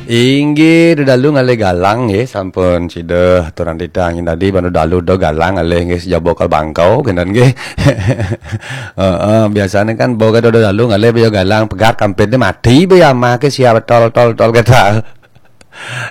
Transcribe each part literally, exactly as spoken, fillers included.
Inggih, dedalu ngalih galang nggih, sampun sida aturang titah nggih tadi, ban dedalu do galang ngalih nggih, sejaba kal bangkau kenten nggih. Heeh, biasane kan bau kata dedalu ngalih baya galang, pegat kampit ni mati baya amah ke siap tol, tol, tol kata.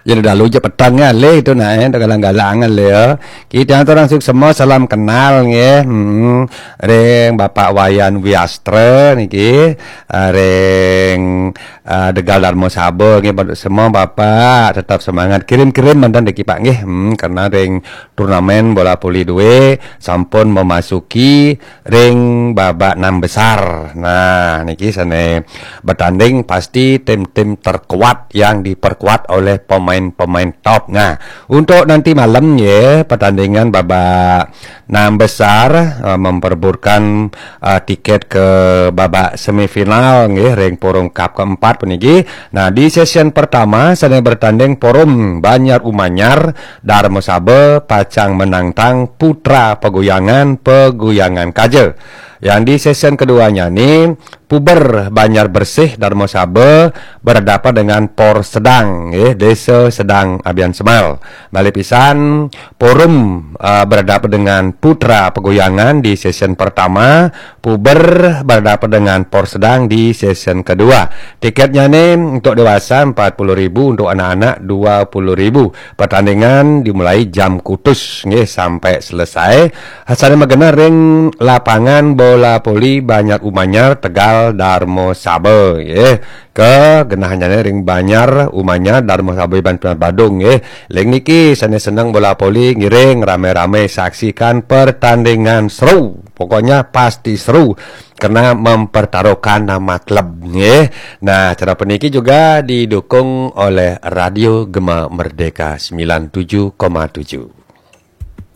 Ya dedalu je petang ngalih tu nah, eh, do galang-galang ngalih ya. Kita aturang suksema, salam kenal nggih. Hmm, ring Bapak Wayan Wiastra niki, ah, ring ah, Tegal Darma Saba nggih, semua Bapak tetap semangat, kirim-kirim mantan deki Pak nggih. Hmm, karena ring turnamen bola voli dua sampun memasuki ring babak enam besar. Nah, niki sane bertanding pasti tim-tim terkuat yang diperkuat oleh pemain-pemain top. Nah, untuk nanti malam ya, pertandingan babak enam besar, eh, memperebutkan, eh, tiket ke babak semifinal nggih ring Forum Cup keempat puniki. Nah, di sesi pertama sane bertanding Forum Banjar Umanyar Darma Saba pacang menantang Putra Peguyangan, Peguyangan Kaja. Yang di sesi keduanya ni Puber Banjar Bersih Darma Saba berhadapan dengan Por Sedang, eh, Desa Sedang Abian Semal. Malih pisan, Forum, eh, berhadapan dengan Putra Peguyangan di sesi pertama, Puber berhadapan dengan Por Sedang di sesi kedua. Tiketnya ni untuk dewasa empat puluh ribu, untuk anak-anak dua puluh ribu. Pertandingan dimulai jam kutus nggih sampai selesai. Sane magenah ring lapangan bola voli Banjar Umanyar, Tegal Darma Saba nggih. Ke genahnyane ring Banjar Umanyar, Darma Saba, Ban Badung nggih. Ring niki sane seneng bola voli ngiring rame-rame saksikan pertandingan seru. Pokoknya pasti seru karena mempertaruhkan nama klub nggih. Nah, acara puniki juga didukung oleh Radio Gema Merdeka sembilan tujuh koma tujuh.